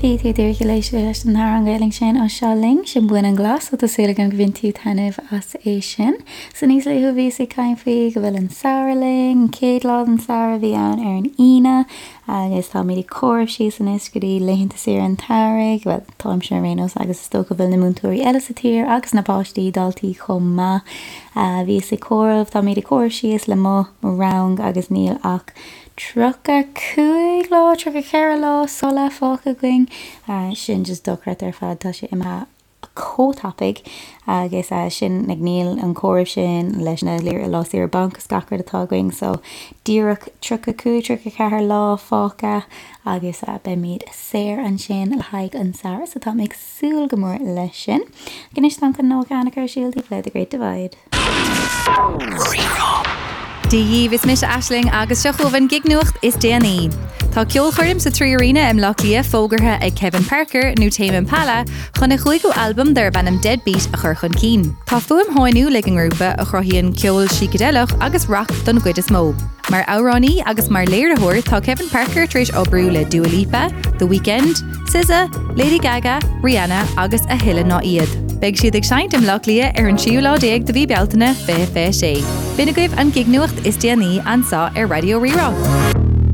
Bhí tú díreach ag éisteacht leis an amhrán Gaelainn sin ó Seo Linn, sin Baineann Glas, so tá súil agam go bhain tú taitneamh as é sin. So níos luaithe bhíos ag caint faoi go bhfuil an samhradh linn, an chéad lá den samhradh a bhí ann ar an Aoine agus táimid ag comhaireamh síos anois go dtí laethanta saoire an tsamhraidh, bhuel táimse ar aon nós agus is dócha go bhfuil na múinteoirí eile sa tír agus na páistí, daltaí chomh maith. Bhíos ag comhaireamh, táimid ag comhaireamh síos le mo rang agus níl ach 35 lá, 34 lá scoile fágtha againn. Sin just dochreidte ar fad, tá sé imithe chomh tapaidh agus sin like níl an comhaireamh sin leis na lá saoire bainc is gach rud atá againn so díreach 35, 34 lá fágtha agus beimid saor ansin le haghaidh an samhradh so táim ag súil go mór leis sin. Anois táim chun Noah Kahan a chur ar siúl daoibh le The Great Divide. Rí-Rá. Dia dhaoibh, is mise Aisling agus seo chugaibh an gignuacht is déanaí. Tá ceolchoirm sa 3Arena i mBleá Cliath fógartha ag Kevin Parker, nó Tame Impala, chun a chúigiú albam darb ainm Deadbeat a chur chun cinn. Tá fuaim shainiúil ag an ngrúpa, a chruthaíonn ceol sícideileach agus rac don gcuid is mó. Mar amhránaí agus mar léiritheoir, tá Kevin Parker tar éis oibriú le Dua Lipa, The Weeknd, SZA, Lady Gaga, Rihanna agus a thuilleadh ná iad. Beidh siad ag seinnt i mBleá Cliath ar an tríú lá déag de mhí Bealtaine 2026. B'in agaibh an gignuacht is déanaí anseo ar Raidió Rí-Rá.